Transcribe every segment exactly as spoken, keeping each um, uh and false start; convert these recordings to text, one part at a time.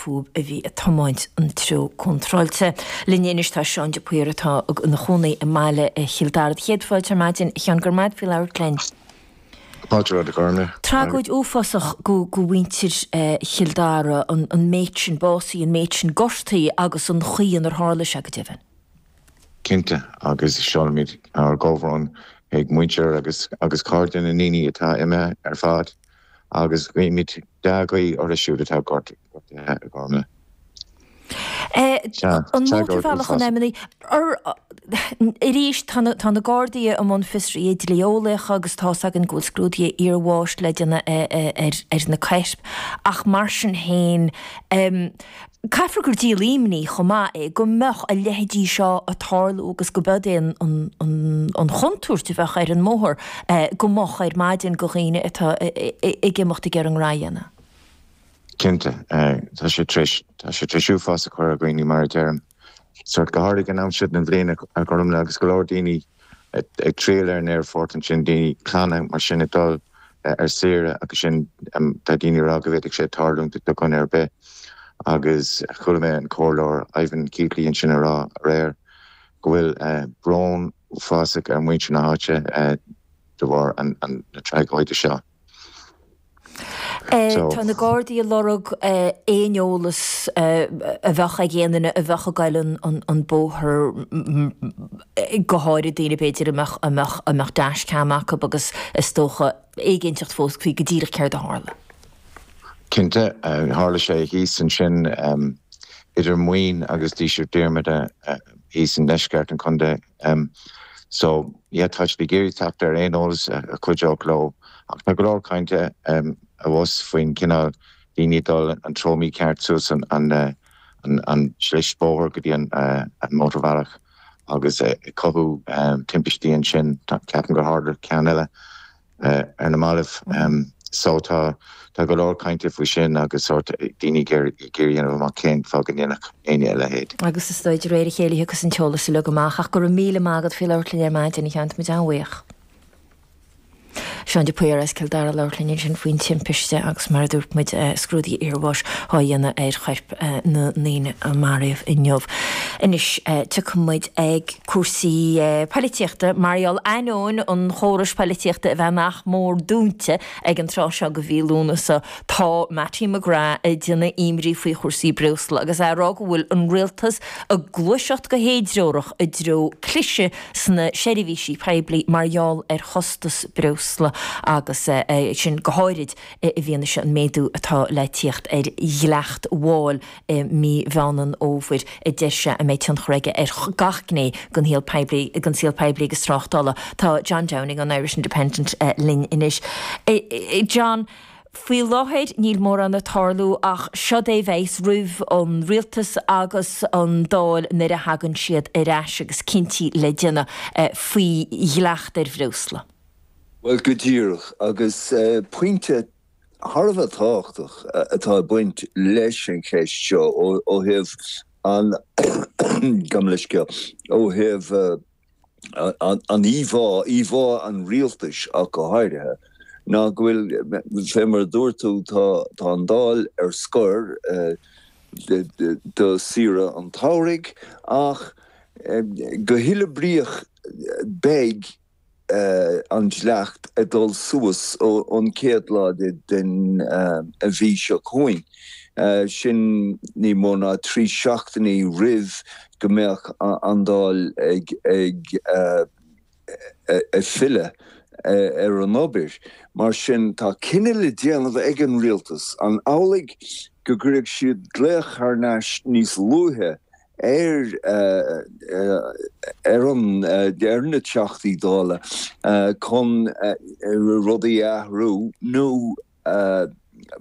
fúthu a bhí ag tiomáint an treo contráilte. Linn anois tá Seán de Paor atá ina chónaí i mbaile Chill Dara. Céad fáilte ar maidin, a Sheáin, go raibh maith agat faoi labhairt linn. Fáilte romhat, a Ghormlaith. Tragóid uafásach go go mhuintir Chill Dara an an méid sin básaithe, an méid sin gortaithe agus an chaoi inar tharla sé go deimhin. Cinnte, agus seolaimid ár gcomhbhrón ag muintir agus agus cairde na ndaoine atá imithe ar fad agus guímid dea-ghuí orthu siúd atá gortaithe, a Ghormlaith. An mótarbhealach an M naoi arís tá na Gardaí i mbun fiosruithe dlí-eolaíocha agus tá's againn go bhfuil scrúduithe iarbháis le déanamh ar na coirp ach mar sin féin caithfear gur díol imní chomh maith é go mbeadh a leithéidí seo ag tarlú agus go b'eod é an chontúirt a bheadh ar an mbóthar go moch ar maidin go dhaoine atá ag imeacht ag iarraidh a ngnó a dhéanamh. Cinnte, tá sé tar éis tá sé tar éis uafás a chur ar dhaoine mar a deirim. Sort go háirithe ag an am seo den bhliain a Ghormlaith agus go leor daoine ag triall ar an aerfort ansin, daoine clanna mar sin ag dul ar saoire agus sin tá daoine ag rá go bhféadfadh sé tarlúint do dhuine ar bith. Agus chuala mé an comhairleoir Ivan Keatley ansin ag rá aréir go bhfuil brón uafásach ar mhuintir na háite de bharr na tragóide seo. Tá na Gardaí ag lorg aon eolas a bheadh ag aon duine a bheadh ag goil an bóthar, go háirid daoine b'fhéidir a mbeadh a mbeadh a mbeadh dashcam acu agus is dócha éiginnteacht fós faoi go díreach céard a tharla. Cinnte, tharla sé thíos ansin idir Muin agus Díseart Diarmada thíos i ndeisceart an chontae. So yeah, tá siad ag iarraidh teacht ar aon eolas a chuideodh leo ach tá go leor cainte abhus faoin cineál daoine ag dul an treo mícheart suas an an an slis bóthair go dtí an an mótarbhealach agus ag cothú timpistí ansin. Ceapaim gur tharla ceann eile ar na mallaibh. So tá tá go leor cainte faoi sin agus sórt daoine ag iarraidh a dhéanamh amach cén fáth go ndéanfadh éinne a leithéid. Agus is dóigh de réir a chéile a thiocfas an t-eolas uilig amach ach go raibh míle maith agat faoi labhairt linn ar maidin, a Sheáin, tá muid an-bhuíoch. Seán de Paor as Cill Dara ag labhairt linn ansin faoin timpiste agus mar a dúirt muid scrúduithe iarbháis á dhéanamh ar choirp na ndaoine a maraíodh inniu. Anois tiocfaidh muid ag cúrsaí poilitíochta mar gheall ainneoin an chórais poilitíochta a bheith nach mór dúnta ag an tráth seo de mhí Lúnasa tá Mattie McGrath ag déanamh imní faoi chúrsaí breosla agus é ag rá go bhfuil an rialtas ag gluaiseacht go héidreorach i dtreo cliseadh sna seirbhísí poiblí mar gheall ar chostas breosla agus sin go háirid i bhfianaise an méadú atá le tíocht ar dhleacht mháil i mí Mheán an Fhómhair a deir sé a mbeidh tionchar aige ar gach gné den shaol poiblí den saol poiblí agus tráchtála. Tá John Downing ón Irish Independent linn anois. John, Faoi láthair níl mórán ag tarlú ach seod é a bheas roimh an rialtas agus an Dáil nuair a thagann siad ar ais agus cinntí le déanamh faoi dhleacht ar bhreosla. Bhuel, go díreach, agus pointe thar a bheith tábhachtach atá ag baint leis an cheist seo ó thaobh an, gabh mo leithscéal, ó thaobh an íomhá, íomhá an rialtais ach go háirithe, ná go bhfuil, fé mar a dúirt tú, tá tá an Dáil ar scor do saoire an tsamhraidh ach go huilebríoch beidh an dleacht ag dul suas ón chéad lá den mhí seo chugainn. Sin ní mó ná trí seachtainí roimh go mbeadh an Dáil ag filleadh ar an obair. Mar sin, tá cinneadh le déanamh ag an rialtas, an amhlaidh go gcuirfidh siad glaoch thar n-ais níos luaithe ar ar an ar na Teachtaí Dála chun rudaí a athrú nó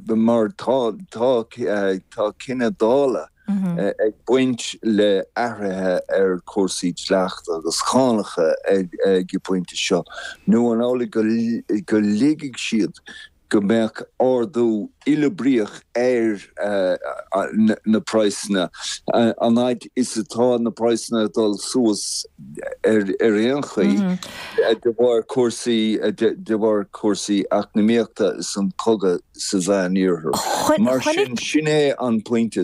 mar tá tá tá cinneadh Dála ag baint le athruithe ar chúrsaí dleachta agus cánacha ag an bpointe seo nó an amhlaidh go go ligfidh siad go mbeadh ardú uilebríoch ar na praghsanna, an fhaid is atá na praghsanna ag dul suas ar aon chaoi de bharr cúrsaí de bharr cúrsaí eacnamaíochta is an cogadh sa Mheán Iarthar. Mar sin, sin é an pointe.